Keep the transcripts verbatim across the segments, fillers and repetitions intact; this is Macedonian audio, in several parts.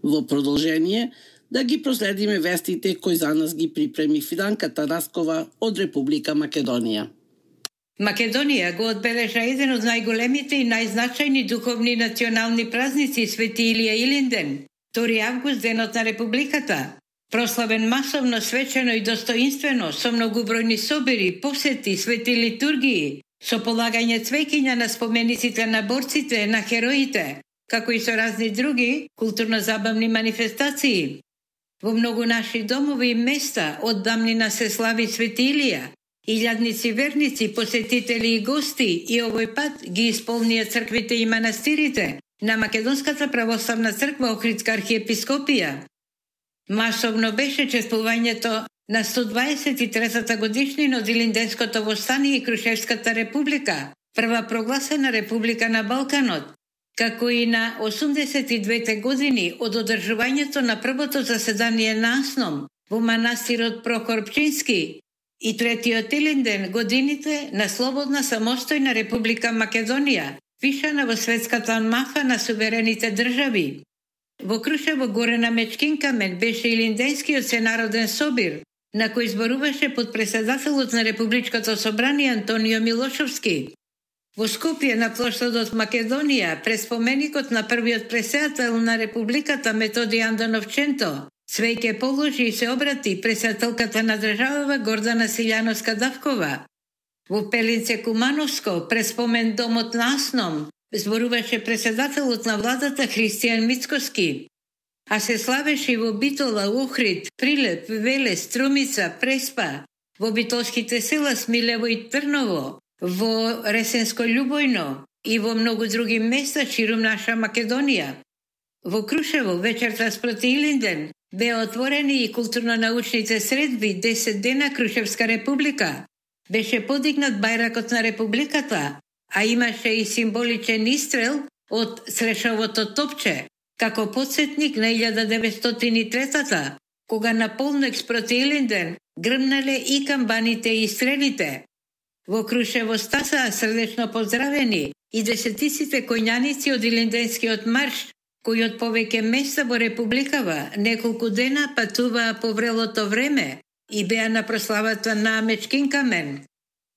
Во продолжение, да ги проследиме вестите кои за нас ги припреми Фиданка Тараскова од Република Македонија. Македонија го одбележа еден од најголемите и најзначајни духовни национални празници Свети Илија Илинден, втори август, денот на Републиката. Прославен масовно, свечено и достоинствено, со многубројни собири, посети, свети литургии, со полагање цвеќиња на спомениците на борците, на хероите, како и со разни други културно-забавни манифестации. Во многу наши домови и места од давнина се слави Свети Илија. Илјадници верници, посетители и гости и овој пат ги исполнија црквите и манастирите на Македонската православна црква Охридска архиепископија. Масовно беше чествувањето на сто дваесет и третата годишнина од Илинденското востание и Крушевската република, прва прогласена република на Балканот, како и на осумдесет и двете години од одржувањето на првото заседание на АСНОМ во манастирот Прохор Пчински и третиот Илинден годините на слободна самостојна република Македонија, впишана во светската мафа на суверените држави. Во Крушево горе на Мечкин камен беше Илинденскиот сенароден собир, на кој зборуваше подпредседателот на Републичкото собрание Антонио Милошовски. Во Скопје на плоштадот Македонија, пред споменикот на првиот преседател на Републиката Методи Андоновченто, цвеќе положи и се обрати преседателката на државава Гордана Силјановска-Давкова. Во Пелинце Кумановско, пред спомен домот на АСНОМ, зборуваше преседателот на владата Христијан Мицкоски. А се славеше и во Битола, Охрид, Прилеп, Велес, Струмица, Преспа, во битолските села Смилево и Трново, во Ресенско Љубојно и во многу други места ширум наша Македонија. Во Крушево вечерта спроти Илинден беа отворени и културно-научните средби десет дена Крушевска република. Беше подигнат бајракот на републиката, а имаше и символичен истрел од Срешовото топче, како подсетник на илјада деветстотини и третата, кога на полнок спроти Илинден грмнале и камбаните и стрелите. Во Крушево стаса срдечно поздравени и десетиците коњаници од Илинденскиот марш, кои од повеќе места во републикава неколку дена патуваа по врелото време и беа на прославата на Мечкин камен.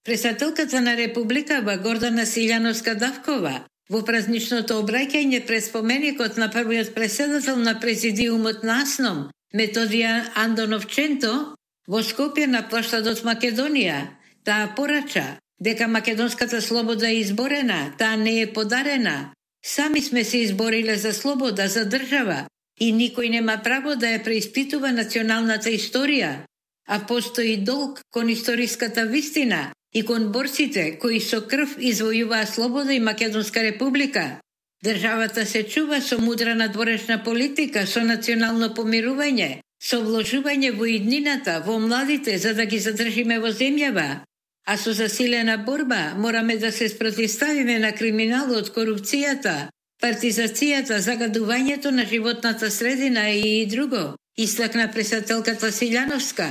Председателката на републикава Гордана Силјановска-Давкова во празничното обраќање пред споменикот на првиот преседател на президиумот на АСНОМ Методија Андоновченто во Скопје на плоштадот Македонија, таа порача дека македонската слобода е изборена, таа не е подарена. Сами сме се избориле за слобода, за држава и никој нема право да ја преиспитува националната историја, а постои долг кон историската вистина и кон борците кои со крв извојуваа слобода и Македонска република. Државата се чува со мудра надворешна политика, со национално помирување, со вложување во иднината, во младите, за да ги задржиме во земјава. А со засилена борба мораме да се спротивставиме на криминалот, корупцијата, партизацијата, загадувањето на животната средина и друго, истакна председателката Силјановска.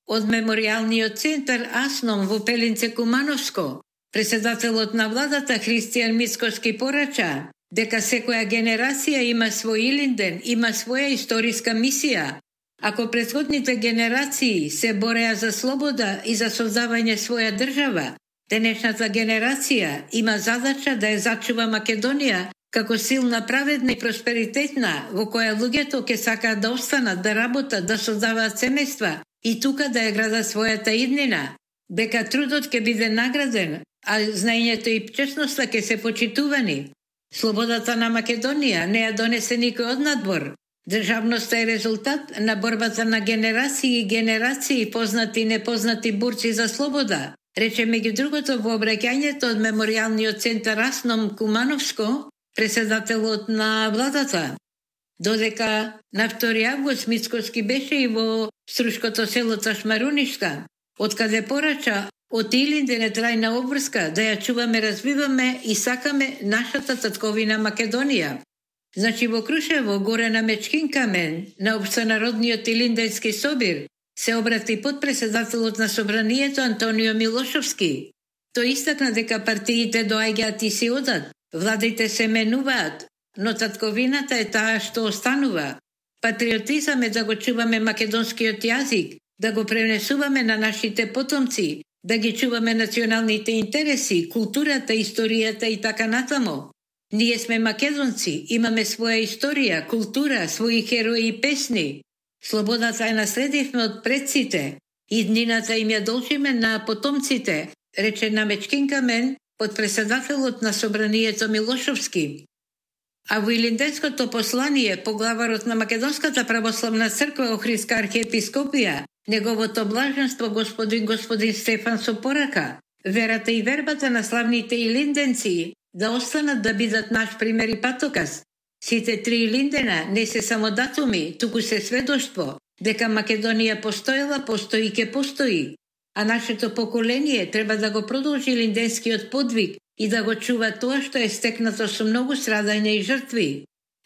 Од меморијалниот центар АСНОМ во Пелинце Кумановско, председателот на владата Христијан Мицкоски порача дека секоја генерација има свој Илинден, има своја историска мисија. Ако претходните генерации се бореа за слобода и за создавање своја држава, денешната генерација има задача да ја зачува Македонија како силна, праведна и просперитетна, во која луѓето ќе сакаат да останат, да работат, да создаваат семејства и тука да ја градат својата иднина, дека трудот ќе биде награден, а знаењето и честноста ќе се почитувани. Слободата на Македонија не ја донесе никој од надвор. Државноста е резултат на борбата на генерации и генерации, познати и непознати борци за слобода, рече меѓу другото во обраќањето од меморијалниот центар АСНОМ Кумановско, председателот на владата. Додека на втори август Мицкоски беше и во струшкото село Ташмарунишка, откаде порача од Илинден е трајна обврска да ја чуваме, развиваме и сакаме нашата татковина Македонија. Значи во Крушево, горе на Мечкин камен, на општенародниот Илинденски собир, се обрати подпредседателот на собранието Антонио Милошовски. Тој истакна дека партиите доаѓаат и си одат, владите се менуваат, но татковината е таа што останува. Патриотизам е да го чуваме македонскиот јазик, да го пренесуваме на нашите потомци, да ги чуваме националните интереси, културата, историјата и така натаму. Ние сме македонци, имаме своја историја, култура, своји херои и песни. Слободата ја наследивме од предците, и днината им ја должиме на потомците, рече Намечкин Камен, подпредседателот на Собранието Милошовски. А во Илинденското послание, поглаварот на Македонската православна црква Охридска архиепископија, неговото блаженство господин господин Стефан со порака, верата и вербата на славните илинденци да останат да бидат наш пример и патоказ. Сите три Илиндена не се само датуми, туку се сведоштво дека Македонија постоела, постои и ке постои. А нашето поколение треба да го продолжи илинденскиот подвиг и да го чува тоа што е стекнато со многу страдања и жртви.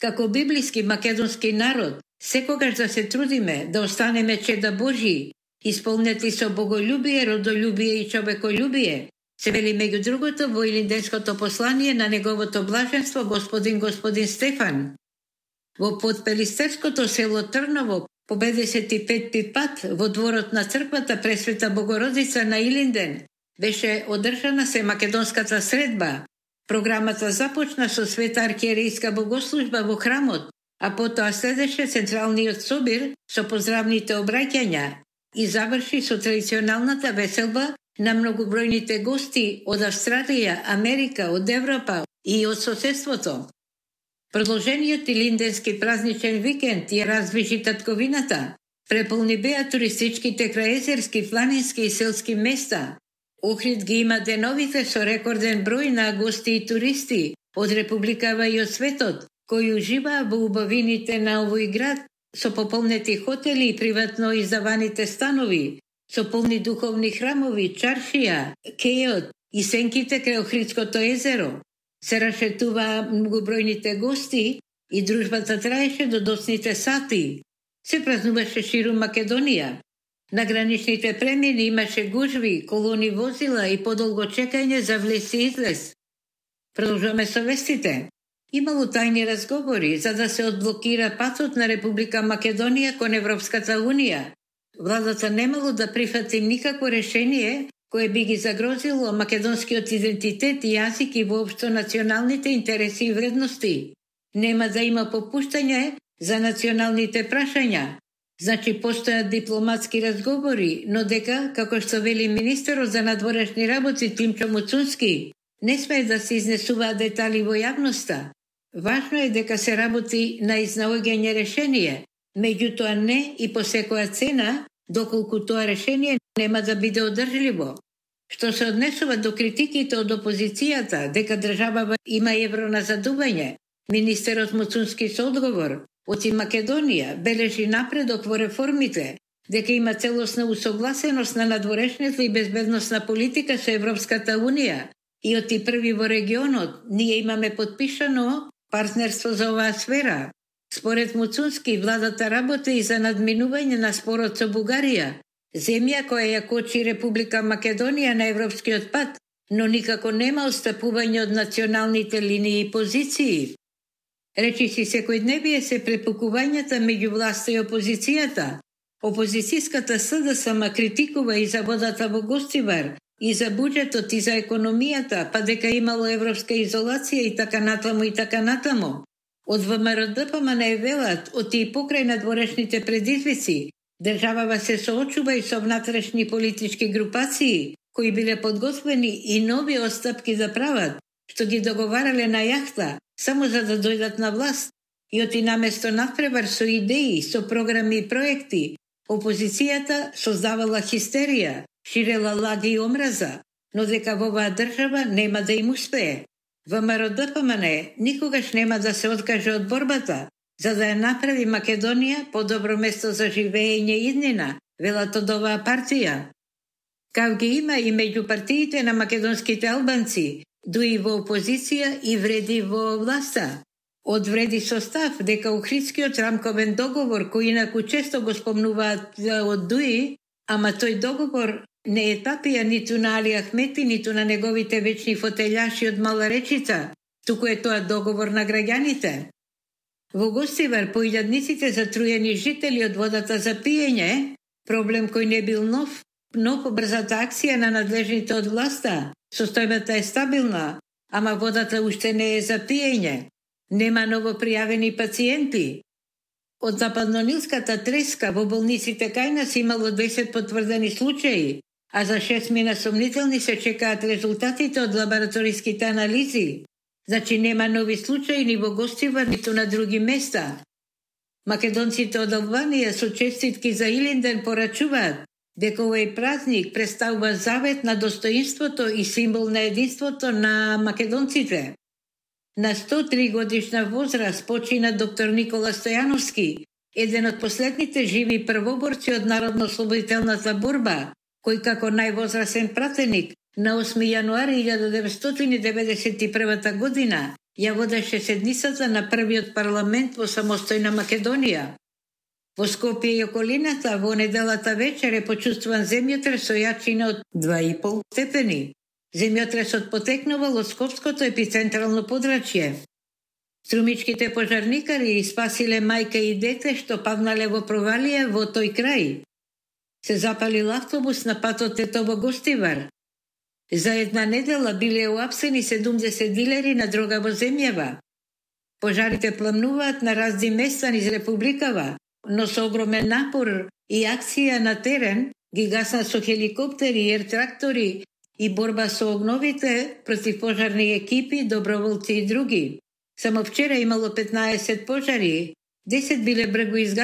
Како библиски македонски народ, секогаш да се трудиме да останеме чеда Божии, исполнети со боголюбие, родолюбие и човеколюбие, се вели меѓу другото во Илинденското послание на неговото блаженство господин господин Стефан. Во подпелистерското село Трново по педесет и петти пат во дворот на црквата Пресвета Богородица на Илинден беше одржана се македонската средба. Програмата започна со света архиерејска богослужба во храмот, а потоа следеше централниот собир со поздравните обраќања и заврши со традиционалната веселба на многобројните гости од Австралија, Америка, од Европа и од соседството. Продолжениот илинденски празничен викенд ја раздвижи татковината. Преполни беа туристичките краезерски, планински и селски места. Охрид ги има деновите со рекорден број на гости и туристи од Републикава и од светот, кои уживаа во убавините на овој град, со пополнети хотели и приватно издаваните станови, со полни духовни храмови, чаршија, кејот и сенките крај Охридското езеро. Се рашетуваа многобројните гости и дружбата траеше до доцните сати. Се празнуваше ширум Македонија. На граничните премини имаше гужви, колони возила и подолго чекање за влез и излез. Продолжуваме со вестите. Имало тајни разговори за да се одблокира патот на Република Македонија кон Европската Унија. Владата немало да прифати никакво решение кое би ги загрозило македонскиот идентитет и јазик и воопшто националните интереси и вредности. Нема да има попуштање за националните прашања. Значи постојат дипломатски разговори, но дека, како што вели министерот за надворешни работи Тимчо Муцунски, не смее да се изнесуваат детали во јавноста. Важно е дека се работи на изнаоѓање решение, меѓутоа не и по секоја цена, доколку тоа решение нема да биде одржливо. Што се однесува до критиките од опозицијата дека државава има евроназадување, министерот Муцунски со одговор оти Македонија бележи напредок во реформите, дека има целосна усогласеност на надворешната и безбедносна политика со Европската Унија и оти први во регионот ние имаме подпишано партнерство за оваа сфера. Според Муцунски, владата работи и за надминување на спорот со Бугарија, земја која ја кочи Република Македонија на европскиот пат, но никако нема отстапување од националните линии и позиции. Речиси секојдневие се препукувањата меѓу власта и опозицијата. Опозицијската СДСМ критикува и за водата во Гостивар, и за буџетот, и за економијата, па дека имало европска изолација и така натаму и така натаму. Од ВМРО-ДПМН не велат, оти и покрај надворешните предизвици, државава се соочува и со внатрешни политички групации, кои биле подготвени и нови отстапки да прават, што ги договарале на јахта, само за да дојдат на власт, и оти наместо надпревар со идеи, со програми и проекти, опозицијата создавала хистерија, ширела лаги и омраза, но дека во оваа држава нема да им успее. ВМРО-ДПМН никогаш нема да се откаже од борбата, за да ја направи Македонија подобро место за живење иднина, велат од оваа партија. Кав ги има и меѓу партиите на македонските албанци, дуи во опозиција и вреди во власта. Од вреди состав дека Охридскиот рамковен договор, кој инаку често го спомнуваат од дуи, ама тој договор не е тапија ниту на Али Ахмети, ниту на неговите вечни фотелјаши од Мала Речица, туку е тоа договор на граѓаните. Во Гостивар по илјадниците затруени жители од водата за пиење, проблем кој не бил нов, но по брзата акција на надлежните од власта, состојбата е стабилна, ама водата уште не е за пиење. Нема ново пријавени пациенти. Од западнонилската треска во болниците кај нас имало десет потврдени случаи, а за шест мина сомнителни се чекаат резултатите од лабораториските анализи. Значи нема нови случаи ни во Гостивар, ниту на други места. Македонците од Албанија со честитки за Илинден порачуваат дека овој празник представува завет на достоинството и символ на единството на македонците. На сто и три годишна возраст почина доктор Никола Стојановски, еден од последните живи првоборци од народно-ослободителната борба, кој како највозрасен пратеник на осми јануари илјада деветстотини деветдесет и прва година ја водеше седницата на првиот парламент во самостојна Македонија. Во Скопје и околината во неделата вечер е почувствуван земјотрес со јачина од два и пол степени. Земјотресот потекнувал од Скопското епицентрално подрачје. Струмичките пожарникари спасиле мајка и дете што павнале во провалија во тој крај. Се запалил автобус на патот Тетово-Гостивар. За една недела биле уапсени седумдесет дилери на дрога во земјава. Пожарите пламнуваат на разни места низ републикава, но со огромен напор и акција на терен ги гаснат со хеликоптери, ер-трактори и борба со огновите против пожарни екипи, доброволци и други. Само вчера имало петнаесет пожари, десет биле бргу изгасени.